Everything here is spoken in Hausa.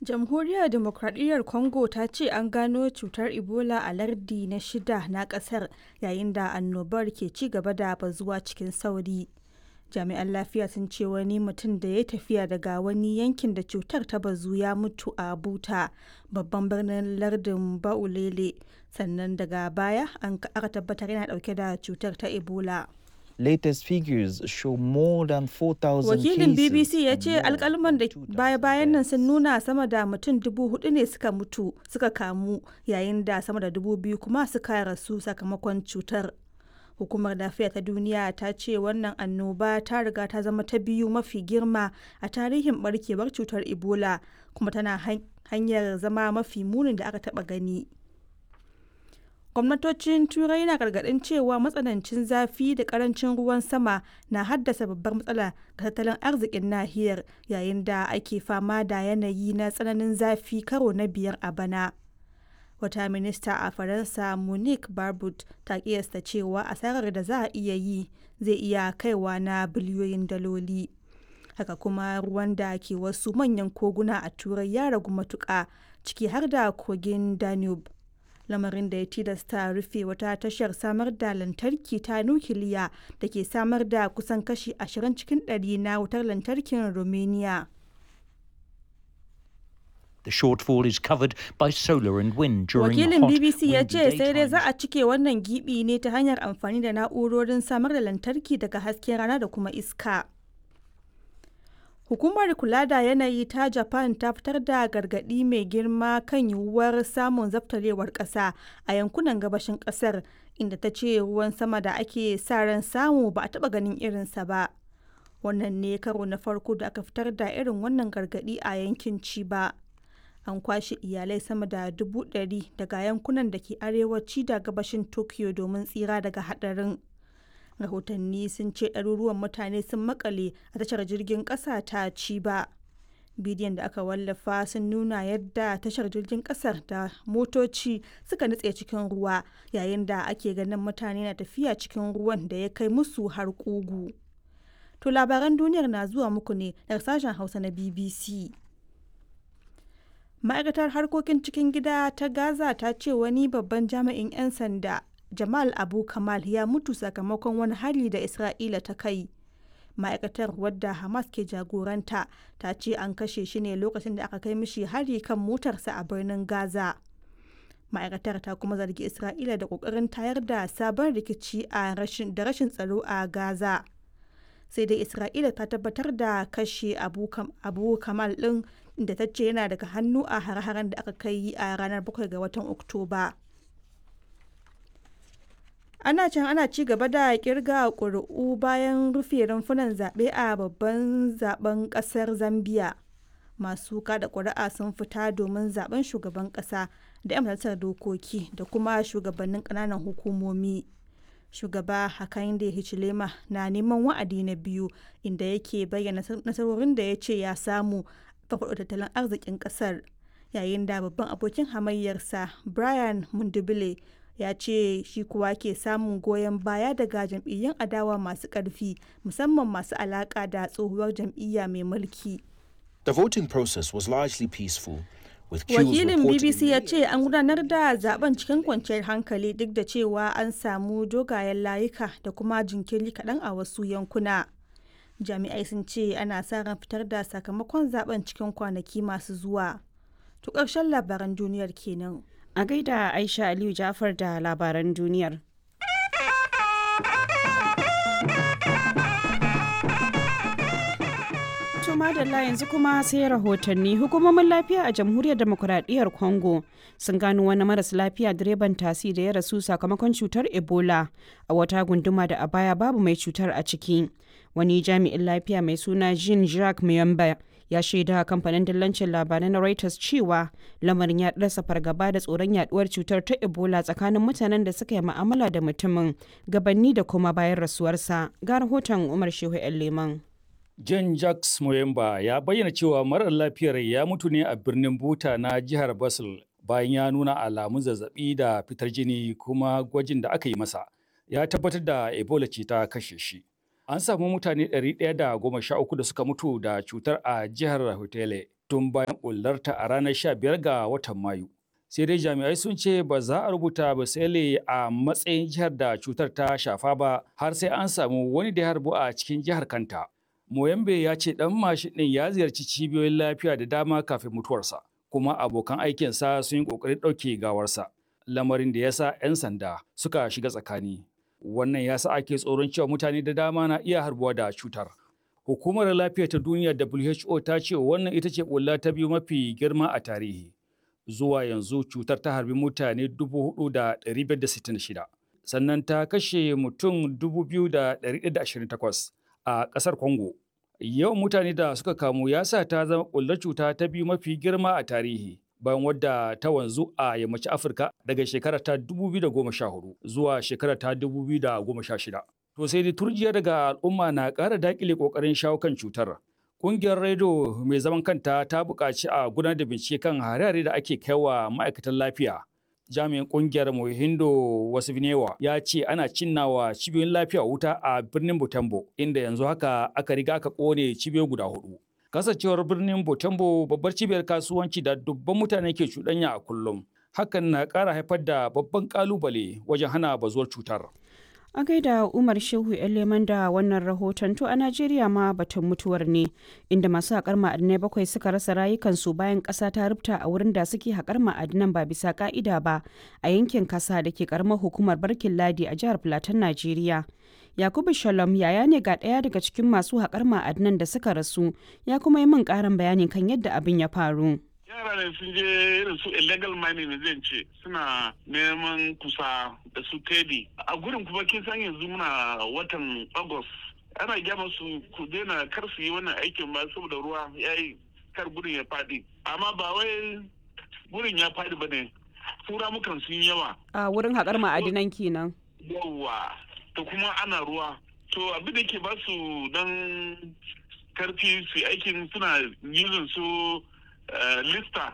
Jamhuriyar Dimokradiyyar Congo ta ce an gano cutar Ebola a lardi na shida na kasar yayin da annobar ke ci gaba da bazuwa cikin sauri. Jami'an lafiya sun ce wani mutum da ya tafiya daga wani yankin da cutar ta bazu ya mutu a Buta, babban birnin lardin Ba'ulele, sannan daga baya an aka tabbatar yana dauke da cutar ta Ebola. Latest figures show more than 4,000 Wakilin BBC cases ya and ce more alkalman da than 2,000 baya-bayan nan deaths. sun nuna sama da mutum 4,000 ne suka mutu suka kamu yayin da sama da 2,000 kuma suka rasu sakamakon cutar. Hukumar Lafiya ta Duniya ta ce wannan annoba ta riga ta zama ta biyu mafi girma a tarihin barkewar cutar Ebola kuma tana hanyar zama mafi munin da aka taba gani. Gwamnatocin Turai na gargaɗin cewa matsanancin zafi da ƙarancin ruwan sama na haddasa babbar matsala ga tattalin arzikin nahiyar yayin da ake fama da yanayi na tsananin zafi karo na biyar a bana. Wata minista a Faransa Monique Barbut ta kiyasta cewa asarar da za a iya yi zai iya kaiwa na biliyoyin daloli. Haka kuma ruwan da ke wasu manyan koguna a Turai ya ragu matuƙa, ciki har da kogin Danube, lamarin da ya tilasta rufe wata tashar samar da lantarki ta nukiliya da ke samar da kusan kashi 20 cikin ɗari na wutar lantarkin Romania. The shortfall is covered by solar and wind during Wakilin hot, BBC ya windy ce sai dai za daytimes. a cike wannan gibi ne ta hanyar amfani da na'urorin samar da lantarki daga hasken rana da kuma iska. Hukumar kula da yanayi ta Japan ta fitar da gargaɗi mai girma kan yiwuwar samun zabtarewar ƙasa a yankunan gabashin ƙasar, inda ta ce ruwan sama da ake sa ran samu ba a taɓa ganin irinsa ba. Wannan ne karo na farko da aka fitar da irin wannan gargaɗi a yankin Chiba. An kwashe iyalai sama da 100,000 daga yankunan da ke arewaci da gabashin Tokyo domin tsira daga haɗarin. Rahotanni sun ce ɗaruruwan mutane sun makale a tashar jirgin ƙasa ta Chiba. Bidiyon da aka wallafa sun nuna yadda tashar jirgin ƙasar da motoci suka nutse cikin ruwa yayin da ake ganin mutane na tafiya cikin ruwan da ya kai musu har ƙugu. To labaran duniyar na zuwa muku ne daga sashen Hausa na BBC. Ma'aikatar harkokin cikin gida ta Gaza ta ce wani babban jami'in 'yan sanda, Jamal Abu Kamal, ya mutu sakamakon wani hari da Isra'ila ta kai. Ma'aikatar, wadda Hamas ke jagoranta, ta ce an kashe shi ne lokacin da aka kai mishi hari kan motarsa a birnin Gaza. Ma'aikatar ta kuma zargi Isra'ila da kokarin tayar da sabon rikici a rashin da rashin tsaro a Gaza. Sai dai Isra'ila ta tabbatar da kashe Abu Kamal din, da ta ce yana daga hannu a hare-haren da aka kai a ranar 7 ga watan Oktoba. Ana can ana ci gaba da kirga ƙuri'u bayan rufe rumfunan zaɓe a babban zaben ƙasar Zambia. Masu kada ƙuri'a sun fita domin zaben shugaban ƙasa da 'yan majalisar dokoki da kuma shugabannin ƙananan hukumomi. Shugaba Hakainde Hichilema na neman wa'adi na biyu, inda yake bayyana nasarorin da ya ce ya samu farfaɗo tattalin arzikin ƙasar, yayin da babban abokin hamayyarsa Brian Mundubile ya ce shi kuwa ke samun goyon baya daga jam'iyyun adawa masu ƙarfi, musamman masu alaƙa da tsohuwar jam'iyya mai mulki. The voting process was largely peaceful, with queues Wakilin reported in BBC ya many ce an gudanar da zaben cikin kwanciyar hankali duk da cewa an samu dogayen layuka da kuma jinkiri kaɗan a wasu yankuna. Jami'ai sun ce ana sa ran fitar da sakamakon zaben cikin kwanaki masu zuwa. To ƙarshen labaran duniyar kenan. A gaida Aisha Aliyu Jafar da labaran duniyar. To madalla, yanzu kuma sai rahotanni. Hukumomin lafiya a Jamhuriyar Demokuraɗiyyar Congo sun gano wani maras lafiya direban tasi da ya rasu sakamakon cutar Ebola a wata gunduma da a baya babu mai cutar a ciki. Wani jami'in lafiya mai suna Jean Jacques Muyamba ya shaida kamfanin dillancin labarai na Reuters cewa lamarin ya ɗarsa fargaba da tsoron yaduwar cutar ta Ebola tsakanin mutanen da suka yi ma'amala da mutumin gabanni da kuma bayan rasuwarsa. Ga rahoton Umar Shehu 'yan Leman. John Jacques Moyemba ya bayyana cewa marar lafiyar ya mutu ne a birnin Buta na jihar Basel bayan ya nuna alamun zazzabi da fitar jini, kuma gwajin da aka yi masa ya tabbatar da Ebola ce ta kashe shi. An samu mutane 113 da suka mutu da cutar a jihar Hotele. tun bayan ɓullarta a ranar 15 ga watan Mayu. Sai dai jami'ai sun ce ba za a rubuta Basele a matsayin jihar da cutar ta shafa ba har sai an samu wani da ya harbu a cikin jihar kanta. Moyambe ya ce ɗan mashin ɗin ya ziyarci cibiyoyin lafiya da dama kafin mutuwarsa, kuma abokan aikinsa sun yi ƙoƙarin ɗauke gawarsa, lamarin da ya sa 'yan sanda suka shiga tsakani. Wannan ya sa ake tsoron cewa mutane da dama na iya harbuwa da cutar. Hukumar Lafiya ta Duniya WHO ta ce wannan ita ce ɓulla ta biyu mafi girma a tarihi. Zuwa yanzu cutar ta harbi mutane 4,566, sannan ta kashe mutum 2,128 a ƙasar Congo. Yawan mutane da suka kamu ya sa ta zama ɓullar cuta ta biyu mafi girma a tarihi. Bayan wadda ta wanzu a yammacin Afirka daga shekara ta 2014 zuwa shekara ta 2016. To sai dai turjiya daga al'umma na ƙara daƙile ƙoƙarin shawo kan cutar. Ƙungiyar rediyo mai zaman kanta ta buƙaci a gudanar da bincike kan hare-hare da ake kaiwa ma'aikatan lafiya. Jami'in ƙungiyar Mohindo Wasifnewa ya ce ana cinnawa cibiyoyin lafiya wuta a birnin Butembo inda yanzu haka aka riga aka ƙone cibiyoyi guda hudu. Kasancewar birnin Butembo babbar cibiyar kasuwanci da dubban mutane ke cuɗanya a kullum. Hakan na ƙara haifar da babban ƙalubale wajen hana bazuwar cutar. A gaida Umar Shehu Leman da wannan rahoton. To a Najeriya ma batun mutuwar ne, inda masu haƙar ma'adinai bakwai suka rasa rayukansu bayan ƙasa ta rubta a wurin da suke haƙar ma'adinan ba bisa ƙa'ida ba a yankin kasa da ke ƙaramar hukumar Barkin Ladi a jihar Filatin Najeriya. Yakubu Shalom yaya ne ga ɗaya daga cikin masu haƙar ma'adinan da suka rasu, ya kuma yi min ƙarin bayani kan yadda abin ya faru. Yara ne sun je irin su illegal mining ne zan ce, suna neman kusa da su tedi a gurin. Kuma kin san yanzu muna watan August, ana gya masu ku daina, kar su yi wannan aikin ba saboda ruwa ya yi, kar gurin ya faɗi. Amma ba wai gurin ya faɗi ba ne, tura mukan sun yawa. A wurin haƙar ma'adinan kenan. Yawa, to kuma ana ruwa, to abin da ke ba su dan karfi su aikin, suna using su lista.